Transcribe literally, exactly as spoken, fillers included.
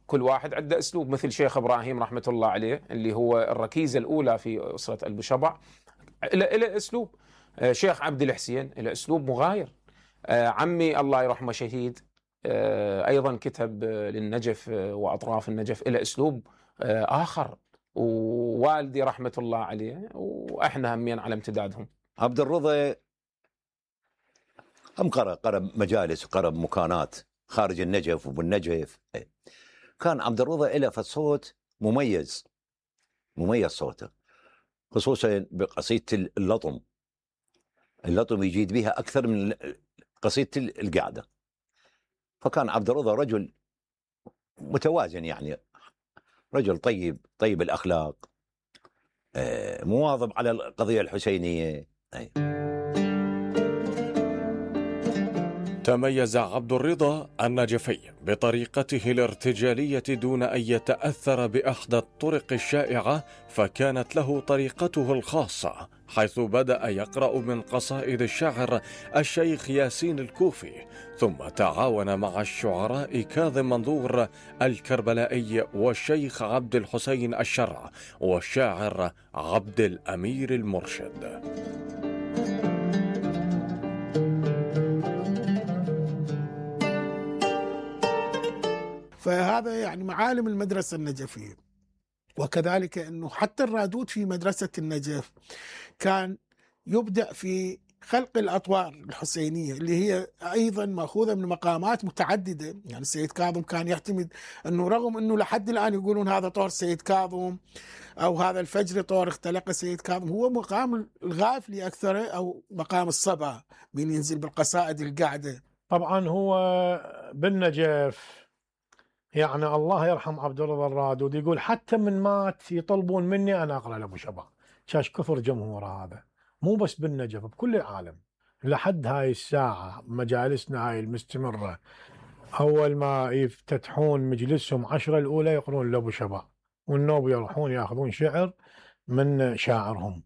كل واحد عنده أسلوب، مثل شيخ إبراهيم رحمة الله عليه اللي هو الركيزة الأولى في أسرة البشبع، له أسلوب. شيخ عبد الحسين له أسلوب مغاير. عمي الله يرحمه شهيد أيضا كتب للنجف وأطراف النجف، له أسلوب آخر، ووالدي رحمة الله عليه وإحنا همين على امتدادهم. عبد الرضا هم قرأ قرأ مجالس وقرأ مكانات خارج النجف وبالنجف. كان عبد الرضا له صوت مميز، مميز صوته، خصوصا بقصيدة اللطم. اللطم يجيد بها أكثر من قصيدة القعدة. فكان عبد الرضا رجل متوازن، يعني رجل طيب طيب الأخلاق، مواظب على القضية الحسينية. تميز عبد الرضا النجفي بطريقته الارتجالية دون أن يتأثر بأحدى الطرق الشائعة، فكانت له طريقته الخاصة، حيث بدأ يقرأ من قصائد الشاعر الشيخ ياسين الكوفي، ثم تعاون مع الشعراء كاظم منظور الكربلائي والشيخ عبد الحسين الشرع والشاعر عبد الأمير المرشد. فهذا يعني معالم المدرسة النجفية. وكذلك أنه حتى الرادود في مدرسة النجف كان يبدأ في خلق الأطوار الحسينية اللي هي أيضا مأخوذة من مقامات متعددة. يعني السيد كاظم كان يعتمد أنه رغم أنه لحد الآن يقولون هذا طور سيد كاظم أو هذا الفجر طور اختلق سيد كاظم، هو مقام الغافلي أكثر أو مقام الصبا من ينزل بالقصائد القعدة. طبعا هو بالنجف يعني الله يرحم عبد الرضا الرادود يقول حتى من مات يطلبون مني أنا أقرأ لأبو شبع. شاش كثر جمهور هذا، مو بس بالنجف، بكل العالم. لحد هاي الساعة مجالسنا هاي المستمرة، أول ما يفتتحون مجلسهم عشرة الأولى يقرون لأبو شبع، والنوب يروحون يأخذون شعر من شاعرهم.